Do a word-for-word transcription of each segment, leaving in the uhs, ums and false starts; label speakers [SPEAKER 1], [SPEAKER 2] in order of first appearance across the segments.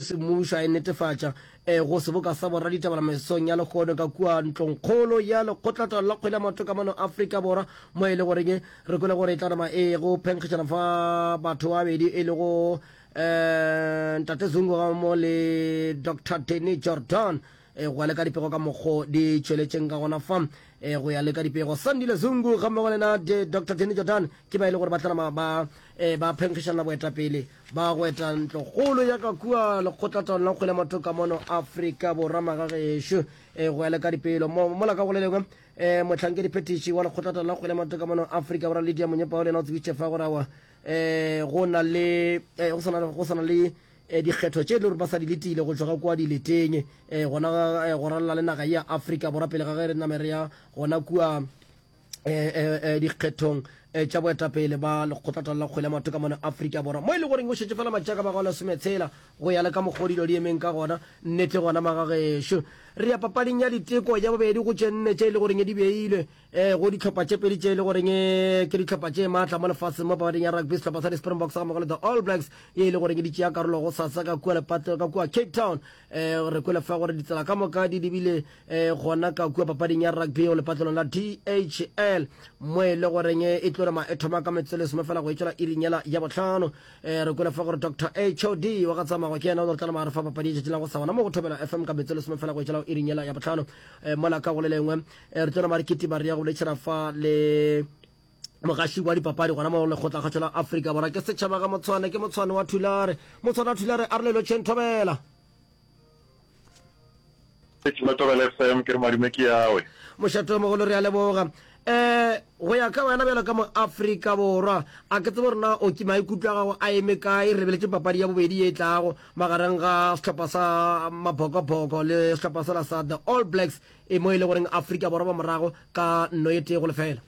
[SPEAKER 1] Semmušo a e netefatša go seboka sa boraditaba mesong ya lehono ka kua ntlongkgolo ya Lekgotlataolo la Kgwele ya Maoto ka mono Afrika Borwa, mo e le goreng re kwele gore e tla nama e go phenkgišana fa batho ba babedi e lego um Ntate Zungu ga mo le Doctor Danny Jordan. Go ya le ka dipego ka mokgo di tšweletšeng ka gona fa, go ya le ka dipego, Sandile Zungu ga mmogo le na Doctor Danny Jordan ke ba e le gore ba tla nama ba ba phenkgišana boetapele ba go eta ntlokgolo ya ka kua lekgotlataolo la kgwele ya maoto ka mono Afrika Borwa. Magagešo, go ya le ka dipelo mo mola ka go le lengwe, mohlankedi-phethiši wa lekgotlataolo la kgwele ya maoto ka mono Afrika Borwa Lydia Monyepao le yena o tsebišitše fa gore aowa go na le go sana go sana le dikgetho tše e le gore ba sa di letile go tšwa ga kua dileteng gona go ralala le naga ya Afrika Borwa pele ga ge re name re ya gona kua dikgethong tša boetapele ba lekgotlataolo la kgwele ya maoto ka mono Afrika Borwa, mo e le goreng o šetše fela matšaka ba go lesometshela go ya le ka mokgwa dilo di emeng ka gona. Nnete gona magagešo, re ya papading ya diteko ya bobedi go tše nne tše e le goreng di beilwe go dihlopha tše pedi tše e le goreng ke dihlopha tše maatla mo lefaseng mo papading ya rugby, sehlopha sa di-Springboks ga mmogo le the All Blacks ye e le goreng di tšea karolo go sasa ka kua lepatlelo ka kua Cape Town. Re kwele fa gore ditsela ka moka di lebile gona ka kua papading ya rugby go lepatlelong la D H L mo e le goreng e tlo rema e thoma ka metsotso e lesome fela go e tšwela iring yela ya bohlano. Re kwele fa gore Doctor H O D wa ga Tsamagwa ke yena o tlo tla nama re fa papadi e tšatši la go sa gona mo go Thobela F M ka metsotso e lesome fela go e tšwela go iring yela ya bohlano. Mola ka go le lengwe re tlo nama re kitima re ya go boletšhana fa le mogaši wa dipapadi gona mo lekgotlakgašo la Afrika Borwa ke setšhaba ga Motshwane, ke Motshwane wa Thulare. Motshwane wa Thulare a re le lotšheng Thobela.
[SPEAKER 2] Letšheng Thobela F M, ke re madume ke yawe.
[SPEAKER 1] Mošate o mogolo, re a leboga. Um go ya ka wena bjalo ka mo-Afrika Borwa, a ke tsebe gore na o ke maikutlo a gago a eme kae re lebeletše papadi ya bobedi ye e tlago magareng ga sehlopha sa Mabhokobhoko le sehlopha sela sa The All Blacks e mo e le goreng Afrika Borwa ba morago ka nno e tee go lefela.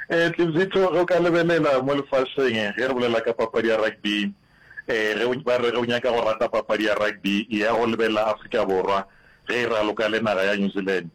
[SPEAKER 2] Eh, Tlebzitho, ge o ka lebelela mo lefaseng, ge re bolela ka papadi ya rugby, eh, ge o, ba re ge o nyaka go rata papadi ya rugby, eya go lebelela Afrika Borwa ge e raloka le naga ya New Zealand.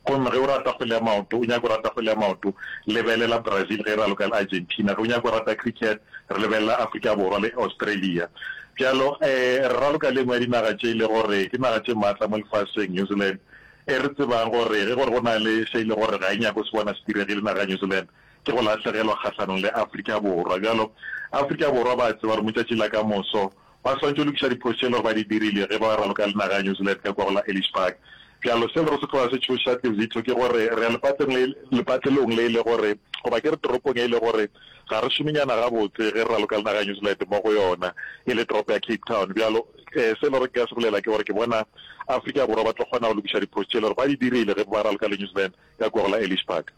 [SPEAKER 2] Gomme ge o rata kgwele ya maoto, o nyaka go rata kgwele ya maoto, lebelela Brazil ge e raloka le Argentina. Ge o nyaka go rata cricket, re lebelela Afrika Borwa le Australia. Bjalo, eh, re raloka le e nngwe ya dinaga tše e le gore ke naga tše maatla mo lefaseng, New Zealand, e re tsebang gore ge gore go na le se e le gore ga e nyake go se bona se diregile naga ya New Zealand, ke go lahlegelwa kgahlanong le Afrika Borwa. Bjalo, Afrika Borwa ba a tseba gore mo tšatšing la ka moso ba swanetše go lokiša diphošo tše e le gore ba di dirile ge ba raloka le naga ya New Zealand ka kua go la Ellis Park. Bjalo, se e le gore se tloga se tšhoša Tlebzitho ke gore re ya lepatleng le, lepatlelong le e le gore, goba ke re toropong e le gore ga re šomenyana gabotse ge re raloka le naga ya New Zealand mo go yona, e le toropo ya Cape Town. Bjalo, se e le gore nka se bolela ke gore ke bona Afrika Borwa ba tlo kgona go lokiša diphošo tše e le gore ba di dirile ge ba raloka le New Zealand ka kua go la Ellis Park.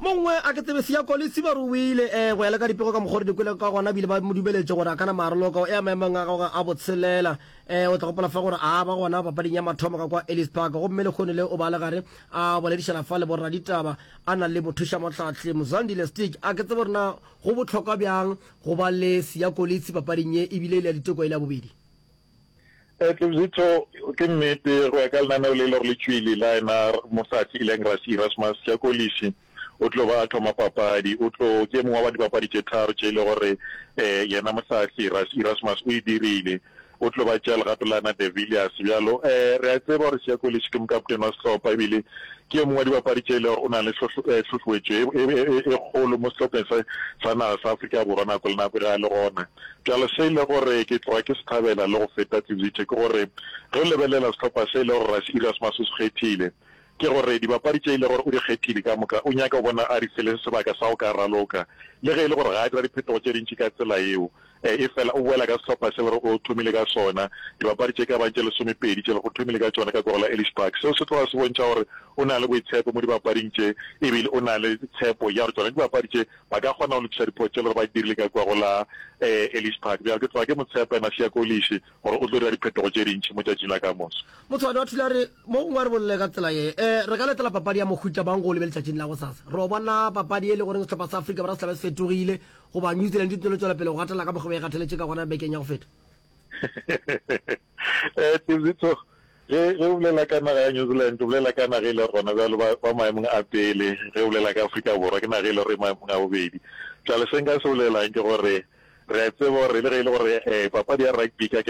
[SPEAKER 1] Mongwe a ke tsebe Siya Kolisi ba re o ile eh, go ya le ka dipego ka mokgwa re di kwele ka gona, ebile ba mo dumeletše gore a ka nama a raloka o ea maemong a gagwe a botshelela. Eh, o tla gopola fa gore a ba gona papading ya mathomo ka kwa Ellis Park, gomme lehono le o ba le gare a boledišana fa le boraditaba a na le mothušamohlahli Mzwandile Stick. A ke tsebe gore na go bohlokwa bjang go ba le Siya Kolisi papading ye ebile e le ya diteko e le ya bobedi.
[SPEAKER 2] Tlebzitho, ke nnete, go ya ka lenaneo le e le gore le tšwile la yena mohlahli e leng Rassie Erasmus, Siya Kolisi o tlo ba a thoma papadi. O tlo, ke e mongwe wa dibapadi tše tharo tše e le gore yena mohlahli Rassie Erasmus o e dirile. O tlo ba tšea legato la yena De Villiers. Bjalo re a tseba gore Siya Kolisi ke mokaptene wa sehlopha ebile ke yo mongwe wa dibapadi tše e le gore o na le hlohloetšo e kgolo mo sehlopheng se sa naga sa Afrika Borwa nako le nako ge a le gona. Bjale se e le gore ke tloga ke se thabela le go feta Tlebzithe ke gore ge o lebelela sehlopha se e le gore Rassie Erasmus o se kgethile, ke gore dibapadi tše e le gore o di kgethile ka moka o nyaka go bona a di fele sebaka sa go ka raloka, le ge e le gore ga a dira diphetogo tše dintši ka tsela yeo. Efela o boela ka sehlopha se le gore o thomile ka sona, dibapadi tše ka bang tše lesomepedi tše le gore o thomile ka tšona ka kua go la Ellis Park. Seo se tloga se bontšha gore o na le boitshepo mo dibapading tše ebile o na le tshepo ya gore tšona dibapadi tše ba ka kgona go lokiša diphošo tše le gore ba di dirile ka kua go la Ellis Park. Bjale ke tloga ke mo tshepa yena Siya Kolisi gore o tlo dira diphetogo tše dintši mo tšatšing la ka moso.
[SPEAKER 1] Motshwane wa Thulare, mo gongwe a re bolele ka tsela ye, e, re ka letela papadi ya mohuta mang go o lebe letšatšing la gosasa? Re o bona papadi e le goreng sehlopha sa Afrika Borwa se tla be se fetogile, goba New Zealand e tlo tšwela pele go gatela ka mokgwa ba e gateletše ka gona bekeng ya go feta?
[SPEAKER 2] Eh, Tebzitho, ge, ge o bolela ka naga ya New Zealand, o bolela ka naga e le gona bjalo ba, ba maemong a pele. Ge o bolela ka Afrika Borwa, ke naga e le gore e maemong a bobedi. Bjale se nka se bolelang ke gore Re a tseba gore le ge e le gore eh, papadi ya rugby ka